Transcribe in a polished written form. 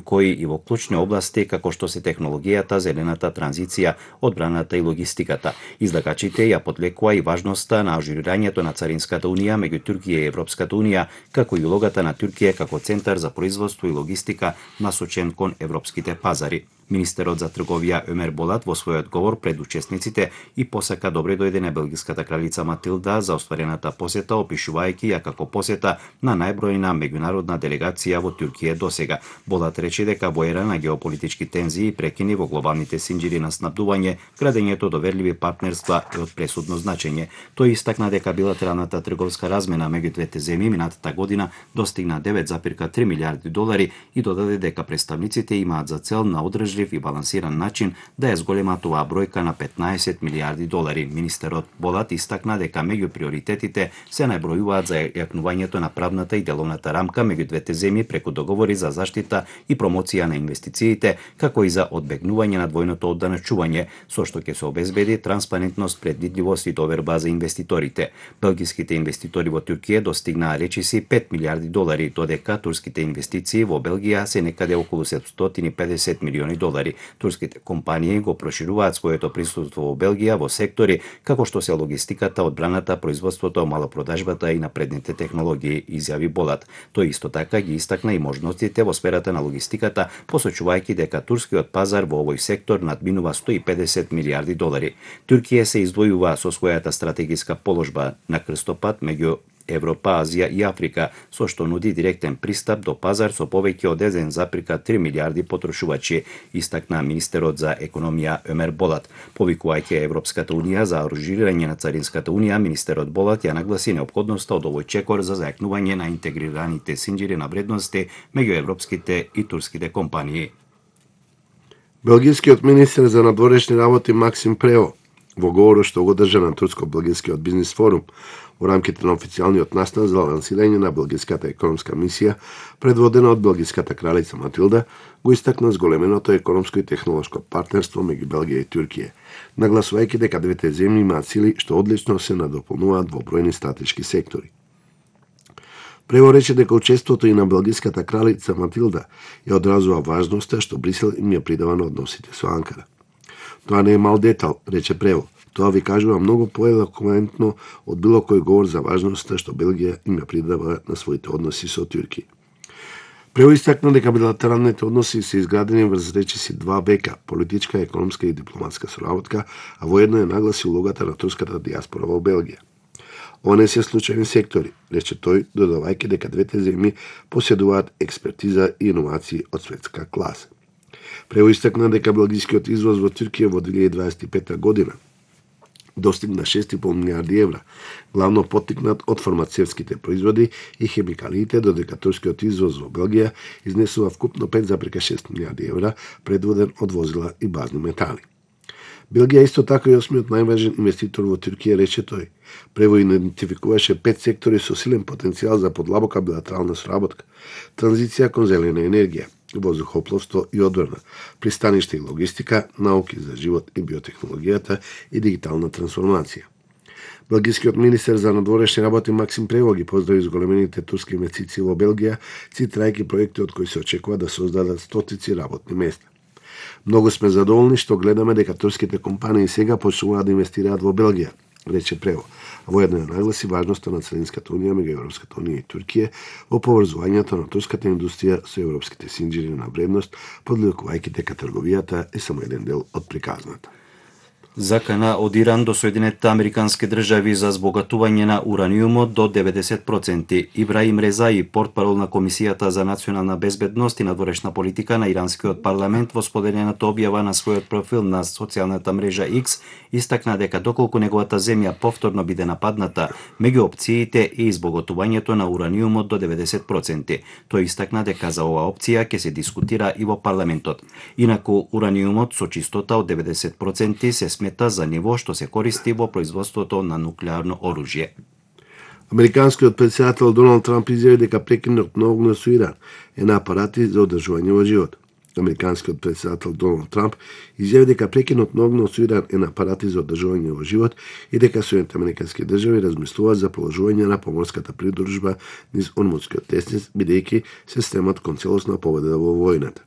кои и во клучни области како што се технологијата, зелената транзиција, одбраната и логистиката. Излагачите ја подлекува и важноста на ажурирањето на Царинската унија меѓу Туркија и Европската унија, како и улогата на Туркија како центар за производство и логистика насочен кон европските пазари. Министерот за трговија Өмер Болат во својот говор пред учесниците и посака добре дојде на белгиската кралица Матилда за остварената посета, опишувајќи ја како посета на најбројна меѓународна делегација во Туркија досега. Болат рече дека во ера на геополитички тензии и прекини во глобалните синџири на снабдување, градењето доверливи партнерства е од пресудно значење. Тој истакна дека билатералната трговска размена меѓу двете земји минатата година достигна 9,3 милиарди долари и додаде дека представниците имаат за цел на одржлив и балансиран начин да ја зголемат оваа бројка на 15 милиарди долари. Министерот Болат истакна дека меѓу приоритетите се најбројуваат за јакнувањето на правната и деловната рамка меѓу двете земји преку договори за заштита и промоција на инвестициите, како и за одбегнување на двојното одданачување, со што ќе се обезбеди транспарентност, предвидливост и доверба за инвеститорите. Белгиските инвеститори во Туркија достигнаа речиси 5 милиарди долари, додека турските инвестиции во Белгија се некаде околу 750 милиони долари. Турските компании го прошируваат своето присуство во Белгија во сектори како што се логистиката, одбраната, производството, малопродажбата и напредните технологии, изјави Болат. Тој исто така ги истакна и можностите во сферата на логистиката, посочувајќи дека турскиот пазар во овој сектор надминува 150 милиарди долари. Туркија се издвојува со својата стратегиска положба на крстопат меѓу Европа, Азија и Африка, со што нуди директен пристап до пазар со повеќе од 1,3 милиарди потрошувачи, истакна министерот за економија Өмер Болат. Повикувајќи Европската унија за аранжирање на Царинската унија, министерот Болат ја нагласи неопходноста од овој чекор за зајакнување на интегрираните синџири на вредности меѓу европските и турските компании. Белгискиот министер за надворешни работи Максим Прево во говорот што го држа на турско-белгискиот бизнис форум во рамките на официјалниот настан за лансирање на белгиската економска мисија, предводена од белгиската кралица Матилда, го истакна зголеменото економско и технолошко партнерство меѓу Белгија и Туркија, нагласувајќи дека двете земји имаат сили што одлично се надополнуваат во бројни стратешки сектори. Прево рече дека учеството и на белгиската кралица Матилда ја одразува важноста што Брисел им ја придава на односите со Анкара. Тоа не е мал детал, рече Прево. Тоа ви кажува многу поелоквентно од било кој говор за важноста што Белгија им ја придава на своите односи со Туркија. Прево истакна дека билатералните односи се изградени врз речиси 2 века, политичка, економска и дипломатска соработка, а воедно е нагласи улогата на турската диаспора во Белгија. Ова не се случајни сектори, рече тој, додавајќи дека двете земји поседуваат експертиза и иновации од светска класа. Прево истакна дека белгискиот извоз во Туркија во 2025 година достигна 6,5 милиарди евра, главно поттикнат од фармацевските производи и хемикалиите, додека турскиот извоз во Белгија изнесува вкупно 5,6 милиарди евра, предводен од возила и базни метали. Белгија исто така и 8-миот најважен инвеститор во Туркија, рече тој. Прево идентификуваше 5 сектори со силен потенцијал за подлабока билатерална соработка: транзиција кон зелена енергија, воздухопловство и одбрана, пристаниште и логистика, науки за живот и биотехнологијата и дигитална трансформација. Белгискиот министер за надворешни работи Максим Прево ги поздрави зголемените турски инвестиции во Белгија, цитирајќи проекти од кои се очекува да создадат стотици работни места. Многу сме задоволни што гледаме дека турските компании сега почнуваат да инвестираат во Белгија, рече Прево, а воедно ја нагласи важноста на Царинската унија меѓу Европската унија и Туркија во поврзувањето на турската индустрија со европските синџири на вредност, подлекувајќи дека трговијата е само еден дел од приказната. Закана од Иран до Соединетите Американски држави за збогатување на ураниумот до 90%. Ибраим Резаи, портпарол на Комисијата за национална безбедност и надворешна политика на иранскиот парламент, во споделената објава на својот профил на социјалната мрежа X, истакна дека доколку неговата земја повторно биде нападната, меѓу опциите е избогатувањето на ураниумот до 90%. Тој истакна дека за оваа опција ќе се дискутира и во парламентот. Инаку ураниумот со чистота од 90% се смета за ниво што се користи во производството на нуклеарно оружје. Американскиот претседател Доналд Трамп изјави дека прекинот на огнот со Иран е на апарати за одржување во живот. Американскиот претседател Доналд Трамп изјави дека прекинот на огнот со Иран е на апарати за одржување во живот и дека Соединетите американски држави размислуваат за положување на поморската придружба низ Ормудскиот тесниц, бидејќи се стремат кон целосна победа во војната.